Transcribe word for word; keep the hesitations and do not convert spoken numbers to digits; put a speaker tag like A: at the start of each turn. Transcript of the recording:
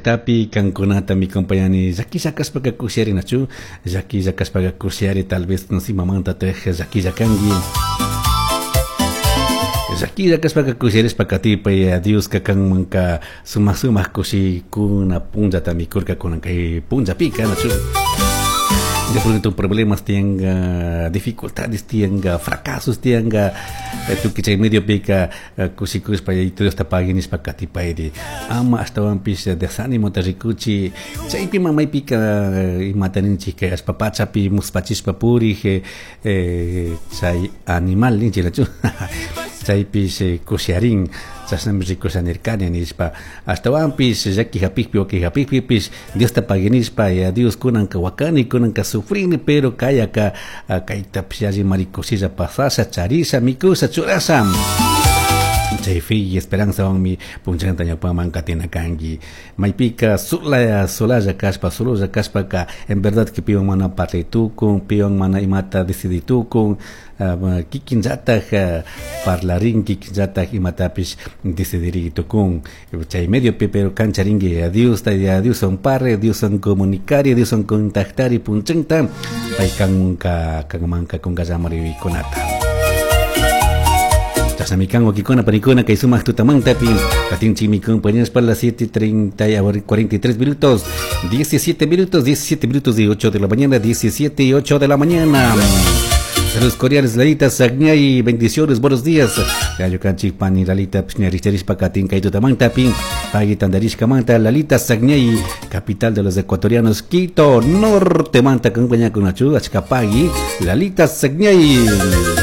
A: llaqtapi kankunata mi compañani llakilla kashpaka kushiyarinachu, llakilla kashpaka kushiyari, tal vez no imamantataj llakilla kanki. Llakilla kashpaka kushiyarishpa katipay, Dioska kanmanka sumak sumak kushikuna punllata mikurkakuna kay punllapika, nachu. De pronto problemas tenga, dificultades tenga, fracasos tenga, tukuy chay mediopika kushikushpa Dios ta pagui nishpa katipayri, ama ashtawanpish desánimota rikuchi chaypi mamaypika imata ninchik kay allpa pachapi muspachishpa purik chay animal ninchik, nachu, chaypish kushiyarin, chashnami rikusha nirkani nishpa. Ashtawanpish llaki hapikpi, waki hapikpipish Diosta pagui nishpa, ya Dios, kunanka wakani, kunanka sufrini, pero kayaka kaytapish allimari kushilla pasasha, charisha, mikusha, churasha. Chay fe y esperanzawanmi punchanta ñawpaman katina kanki. Maypika sola solalla kashpa, sololla kashpaka, en verdad que piwan mana parlay tukun, piwan mana imata decidi tukun, kikinllataj parlarin, kikinllataj imatapish decidiri tukun chay mediopi. Pero kancharinki a Diosta, a Dioswan parle, Dioswan comunicari, Dioswan contactari punchanta, pay kanka kanmanka kunkallamarikunata. Chashnami kan, wawkikuna, panikuna, kay sumak tutamantapi katinchikmi compañeros para las siete treinta y cuarenta y tres minutos, diecisiete minutos, diecisiete minutos de ocho de la mañana, diecisiete y ocho de la mañana. Saludos cordiales, Lalita Sagñay, bendiciones, buenos días. Ñukanchik pani Lalita Pishñarishpa katin kay tutamantapi, pagui tandarishkamanta, Lalita Sagñay, capital de los ecuatorianos, Quito, norte manta, compañía con achka pagui, Lalita Sagñay.